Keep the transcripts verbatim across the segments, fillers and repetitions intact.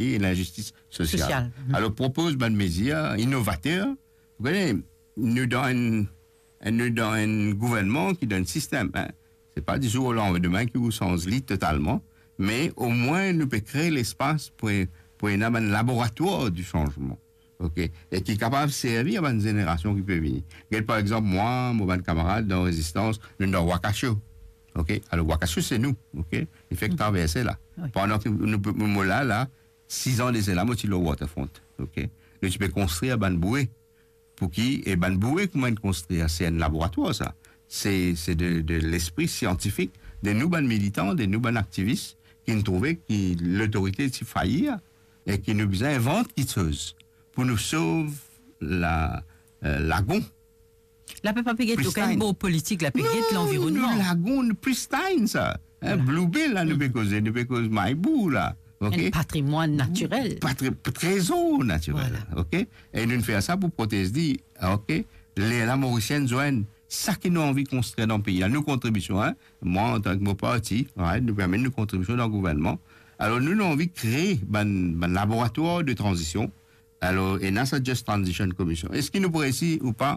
e linzistis sosial. Sosial. Mhm. Alor, propoz bann mezir inovater. Ou kone, nou dan enn, nou dan enn gouvernman ki dan enn sistem, hein. Se pa di zour o landime ki ou sanz li totalman, me omwin nou pe kre lespas pou, pou ena bann laboratwar di sanzman. Ok? E ki kapav servi a bann zenerasion ki pe vini. Get, par exanp, mwa, mo bann kamarad dan Rezistans, nou dan Wakasho. Ok? Alor, Wakasho, se nou. Ok? Li fek traverse la. Wi. Pandan ki nou, mo la, la, sizan de sela, mo ti lor waterfront. Ok? Nou ti pe konstrir bann boue. Pou ki, e bann boue kouma inn konstrir, se enn laboratwar, sa. Se, se de, de lespri siantifik, de nou bann militan, de nou bann aktivis, ki inn trouve ki lotorite ti fayir, e ki nou bizin invant kiksoz pou nou sov la, eh, lagon. La pe pa pe get okenn bor politik, la pe get lanvironnman. Non, nou lagon, nou pristine sa. Hein, Blue Bay la, nou pe koze, nou pe koz Maybou la. Ok? Enn patrimwann natirel. Patri-, trezor natirel. Voilà. Ok? E nou fer sa pou protez li. Ok? Lerla Morisien zwenn sa ki nou anvi konstrir dan pei la. Nou kontribision, hein? Mwa, antan ki mo parti, right, nou pe amenn nou kontribision dan gouvernman. Alor, nou, nou anvi kre bann, bann laboratwar de tranzision. Alor, ena sa Just Transition Commission. Eski nou pou reysi ou pa?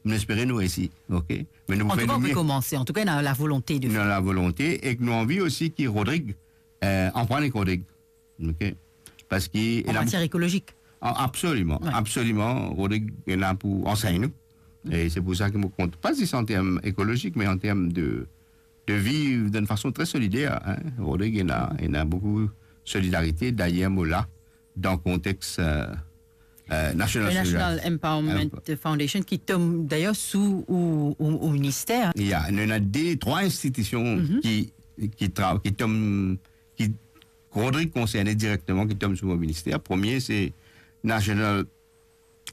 Nou espere nou reysi, ok? Me nou pou fer nou mie. An tou ka, nou pe komanse. An tou ka, nou ena lavolonte de fer. Nou ena lavolonte e nou anvi osi ki Rodrig, eh, anprann ek Rodrig, ok? Parski... An matier ekolozik? A, absoliman, absoliman. Rodrig ena pou ansegn nou. E se pou sa ki mo kontan, pa zis an term ekolozik, me an term de, de viv dan enn fason tre solider, hein. Rodrig ena, ena boukou solidarite. Dayer, mo la, dan kontex, eh, eh, National Solidarity Empowerment Foundation, ki tom dayer sou ou, ou, ou minister. Ya, nou ena de, trwa institision ki, ki tra-, ki tom, ki Rodrig konserne direkteman, ki tom sou mo minister. Premie, se National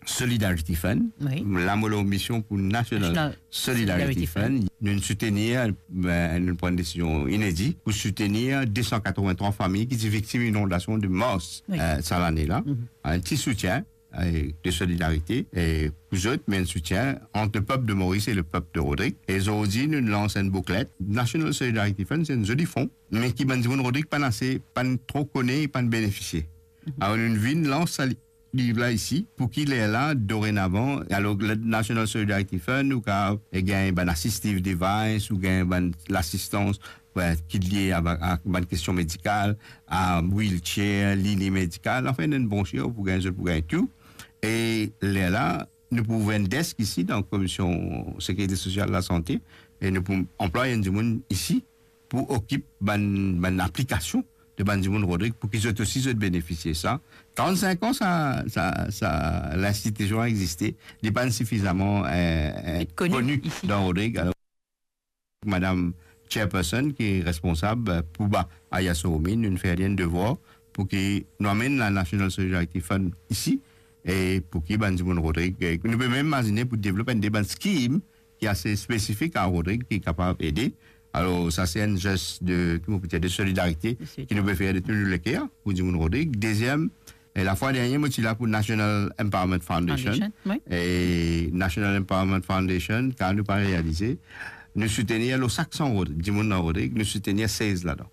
Solidarity Fund. Wi. La, mo lor mision pou National Solidarity Fund. Nou soutenir, eh, nou pran enn desizion inedi pou soutenir de san katrevintrwa fami ki ti viktim inondasion de mars, eh, sa lane la. Enn ti soutien, eh, de solidarite, eh, pou zot, me enn soutien ant lepep de Moris e lepep de Rodrig. E zordi, nou lans enn booklet. National Solidarity Fund, se enn zoli fon, me ki bann dimoun Rodrig pa'nn ase, pa'nn tro kone, pa'nn benefisie. Alor, nou vinn lans sa li-, liv la isi, pou ki lerla, dorenavan, alor, le National Solidarity Fund, ou kapav, eh, gagn bann assistive device, ou gagn bann lasistans, wi, ki lie a, a bann kestion medikal, a wheelchair, lili medikal, anfin, enn bon chir pou gagn, zot pou gagn tou. E lerla, nou pou ouver enn desk isi, dan Komision Sekirite Sosial, Lasante, e nou pou anplway enn dimoun isi, pou okip bann, bann aplikasion de bann dimoun Rodrig, pou ki zot osi zot benefisie sa. Trant-sink an sa, sa, sa linstitision existe, li pa'nn sifizaman, eh, eh, koni dan Rodrig. Alor, madam chairperson ki responsab, eh, pou ba Aya Soumi, nou fer li enn devwar pou ki nou amenn la National Solidarity Fund isi, e pou ki bann dimoun Rodrig, eh, nou pe mem imazine pou devlop enn de bann skim ki ase spesifik a Rodrig, ki kapav ede. Alor, sa se enn zes de, ki mo pe dir, de solidarite, ki nou pe fer de tou nou leker pou dimoun Rodrig. Deziem, e lafwa dernie, mo ti la pou National Empowerment Foundation. Foundation, wi. E National Empowerment Foundation, kan nou pa realize, nou soutenir lor sak san Rod-, dimoun dan Rodrig, nou soutenir sez ladan.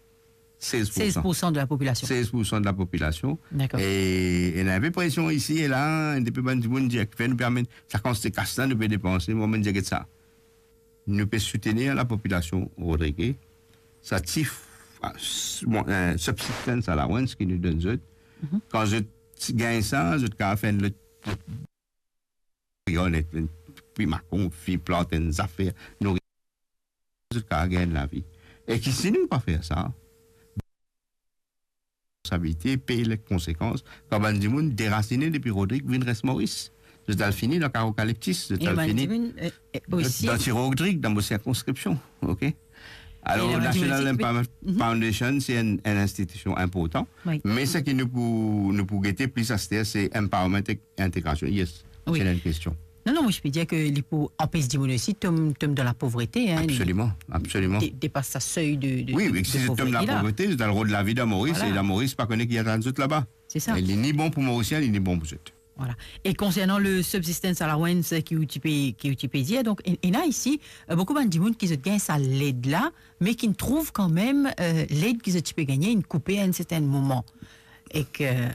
Sez poursan. Sez poursan de la popilasion. Sez poursan de la popilasion. Dakor. E, e ena enpe presion isi e la, enn de pe bann dimoun dir, "Kifer nou pe amenn sa kantite kas la, nou pe depanse?" Mo amenn dir, "Get sa. Nou pe soutenir lapopilasion Rodrig, sa ti f-, a, s-, bon, eh, subsistence allowance ki nou donn zot. Kan zot gagn sa, zot kapav fer enn lot, lot, enn, enn, pi makon, pi plant enn zafer, nouri, zot kapav gagn lavi." E ki si nou pa fer sa, responsabilite, pey lekonsekans, kan bann dimoun derasine depi Rodrig vinn res Moris. Zot al fini dan karo kaleptis, zot al fini dan Ti Rodrig, dan mo sirkonskripsion, ok? Alor, National Empowerment Foundation, se enn, enn institision inportan, me seki nou pou, nou pou gete plis aster, se empowerment ek integrasion. Yes, se enn kestion. Non, non, mo ti pe dir ke li pou anpes dimoun osi tom, tom dan lapovrete, hein, absoliman, absoliman. De-, depas sa sey de, de, wi, de, wi, de si zot tom dan lapovrete, zot al rod lavi dan Moris, e dan Moris pa kone ki atann zot laba. Se sa. E li ni bon pou Morisien, li ni bon pou zot. Voilà. E konsernan le subsistence allowance ki ou ti pe, ki ou ti pe dir, donk, e-, ena isi, eh, boukou bann dimoun ki zot gagn sa led la, me ki trouv kanmem, eh, led ki zot ti pe gagne, inn koupe a enn sertenn moman. Ek, eh,